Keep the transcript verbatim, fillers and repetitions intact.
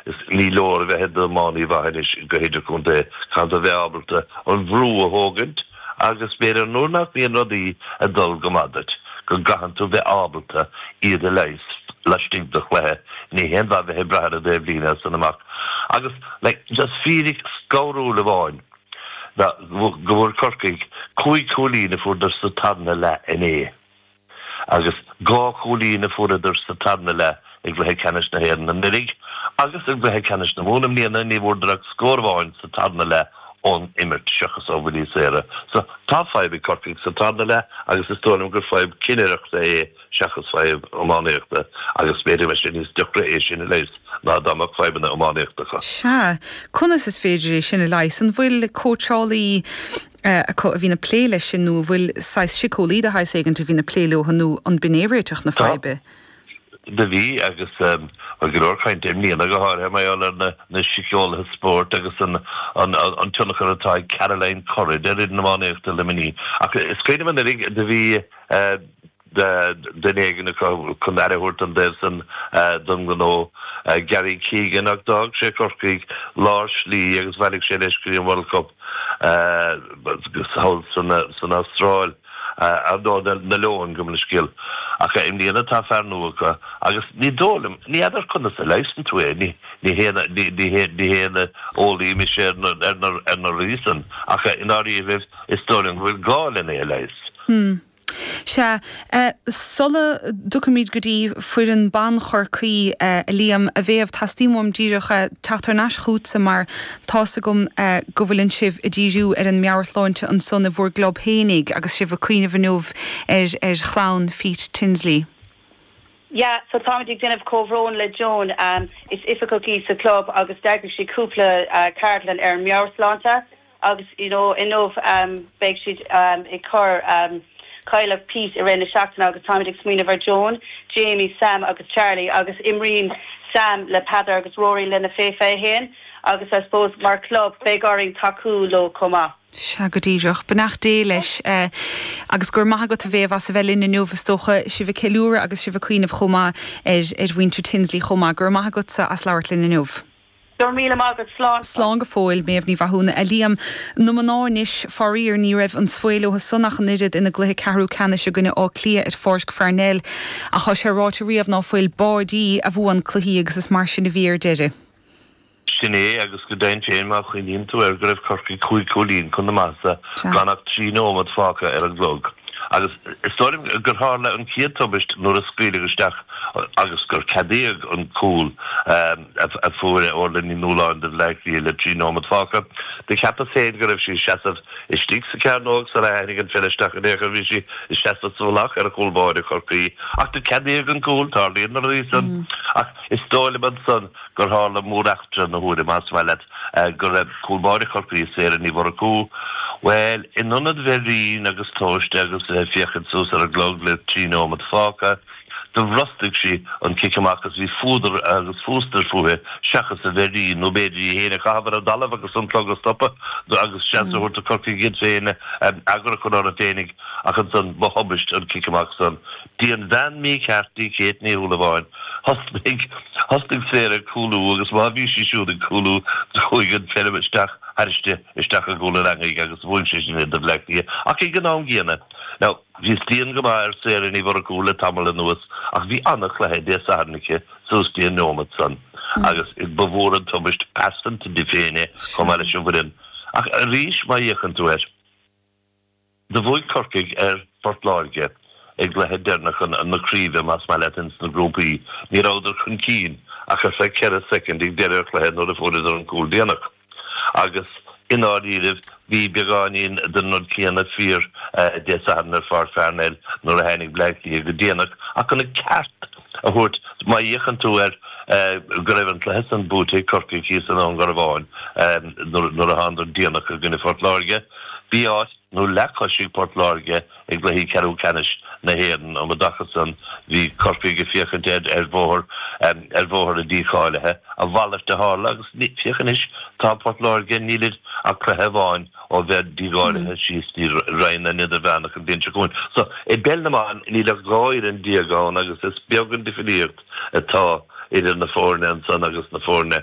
Is ní leor a bheith i d'iománaí mhaith anois go hidirchontae, caithfidh tú a bheith ábalta an bhrú a thógaint agus b'fhéidir nuair nach mbíonn rudaí ag dul go maith duit, go gcaitheann tú bheith ábalta iad a leigheas laistigh de chluiche. Ní haon mhaith bheith ag brath ar an dtaobhlíne as san amach. Agus like, just fíric scanrúil amháin ná go bhfuair Corcaigh cúig chúilín a fuaireadar sa tarna leath inné. Agus dhá chúilín a fuaireadar sa tarna leath i gcluiche ceannais na hÉireann anuraidh agus i gcluiche ceannais na Mumhan i mbliana ní bhfuaireadar ach scór amháin sa tarna leath ón imirt seachas ó bhuillí saora. So tá fadhb ag Corcaigh sa tarna leath agus is dóigh liom gur fadhb cinnireachta é seachas fadhb iománaíochta agus b'fhéidir sé níos deacra é sin a leigheas ná dá mbeadh fadhbanna iománaíochta acu. Sea, conas is féidir é sin a leigheas an bhfuil cóitseálaí acu a bhíonn ag plé leis sin nó bhfuil saghas síceolaí de shaghas éigin a bhíonn ag plé leo nó an b'in é réiteach na faidhbe. Do bhí agus um, go leor cainte i mbliana go háirithe mar gheall ar na, na síceolaithe spóirt agus an, an, an, an tionchar atá ag Caroline Currid ar fhoireann iománaíochta Luimnigh. Ach is cuimhin liom do bhí uh, duine éigin chun aire a thabhairt an dtaobh san don ghnó Gary Keegan ach d'fhág sé Corcaigh lár slí agus bhailigh sé leis go dtí an World Cup thall san san Astráil. nó na Leoin gabh mo leithscéal ach i mbliana tá fear nua acu agus ní dóigh liom ní fheadar conas a leigheasann tú é ní ní ní haon eolaí mise ar ar na rudaí san ach i ndáiríre is dóigh liom go bhfuil gá lena é leigheas. Hmm. Sea, sula dtiocfaimid go dtí foireann ban Chorcaí a Liam a Mhéabh teastaíonn uaim díreach teacht thar n-ais chugatsa mar tá's agam go bhfuileann sibh ag díriú ar an meabhairshláinte ansan i bhur gclub féinig agus sibh ag cuimhneamh inniu ar ar chlann Pete Tinsley. Yeah, so táimid ag déanamh comhbhrón le Joan um, is oifigeach í sa club agus d'eagraigh sí cúpla uh, ceardlann ar an meabhairshláinte agus you know, inniu um, beidh siad um, ag cur um, cailleadh Pete i rith na seachtaine agus táimid ag smaoineamh ar Joan, Jamie, Sam agus Charlie agus imríonn Sam le Peadar agus Rory lena fé fiche haon agus I suppose mar club beidh orainn tacú leo chomh maith. Sea go díreach beannacht Dé leis eh, agus gur maith agat a Mhéabh as a bheith linn inniu is dócha sibh ag ceiliúradh agus sibh ag cuimhneamh chomh maith ar ar mhuintir Tinsley chomh maith gur maith agatsa as labhairt linn inniu. Gur míle maith slán. Slán go fóill Méabh Ní Mhathúna a Liam na mná anois faraor ní raibh an svae leo san ach an oiread ina gcluiche ceathrú ceannais i gcoinne Átha Cliath ar Pháirc Pharnell ach tá sé ráite riamh ná fuil báidí a bhuann cluichí agus is mar sin a bhí ar deireadh. Sin é agus go deimhin féin má chuimhníonn tú ar go raibh Corcaigh cúig chúilín chun na maitheasa gan ach trí nóiméad fágtha ar an gclog. Agus is dóigh liom gur tharla an chéad tubaiste nuair a scaoileadh isteach agus gur ceadaíodh an cúl um, a, a fuair Orla Ní Nualláin do Bhleá Cliath le trí nóiméad fágtha. Do cheapas féin go raibh sí seasamh istigh sa chearnóg sula tháinig an pheil isteach in aon chor bhí sí i seasamh sa mhullach ar a chúl báire Chorcaí ach do ceadaíodh an cúl tarlaíonn na rudaí san mm. ach is dóigh liom ansan gur tharla móreachtra na huaire más maith leat uh, go raibh cúl báire Chorcaí Sarah Ní Mhurchú. Well, in ionad bheith righin agus tomhaiste agus uh, féachaint suas ar an gclog le trí nóiméad fágtha, do bhrostaigh sí an cic amach agus bhí fuadar agus fústar fúithi seachas a bheith righin nó b'fhéidir í féin a chaitheamh ar an dtalamh agus an clog a stopadh agus seans a thabhairt do Chorcaigh iad féin eagar a chur orthu féinig ach ansan ba thubaiste an cic amach san. Dí an bhean mícheart í Kate Ní Shúilleabháin thosnaigh thosnaigh Sarah ag cúlú agus má bhí sí siúd ag cúlú chuaigh an pheil isteach thairsti isteach i gcúl an eangaigh agus bhain sé sin do Bhleá Cliath ach ag an am gcéanna. Now, bhí dian go maith ar Sarah Ní Mhurchú le tamall anuas ach bhí an-chluiche Dé Sathairn aici suas dtí an nóiméad san agus ba mhór an tubaiste pearsanta di féin chomh maith leis an bhfoireann. Ach arís má fhéachann tú air. Do bhuaigh Corcaigh ar Phort Láirge ag cluiche deireanach na craoibhe más maith leat ins na grúpaí, ní rabhadar chun cinn ach ar feadh ceithre soicind ag deireadh an chluiche nuair a fuaireadar an cúl déanach. Agus i ndáiríribh bhí beagáinín den rud céanna fíor Dé Sathairn ar Pháirc Pharnell nuair a tháinig Bleá Cliath go déanach ach chun an ceart a thabhairt má fhéachann tú air go raibh an cluiche san buaite ag Corcaigh thíos i nDún Garbhán nuair a thánadar déanach i gcoinne Phort Láirge. Bhí áit nó leathchois ag Port Láirge i gcluichí ceathrú ceannais na hÉireann um an dtaca san bhí Corcaigh ag féachaint ar ar bhóthar ar bhóthar a dícháilithe a mhalairt a tharla agus féach anois tá Port Láirge nílid ach cluiche amháin ó bheith dícháilithe síos dtí roinn na n-idirmheánach an bhliain seo chugainn. So i bpeil na mban níl ach dhá fhoireann déag ann agus is beag an difríocht atá idir na foirne ansan agus na foirne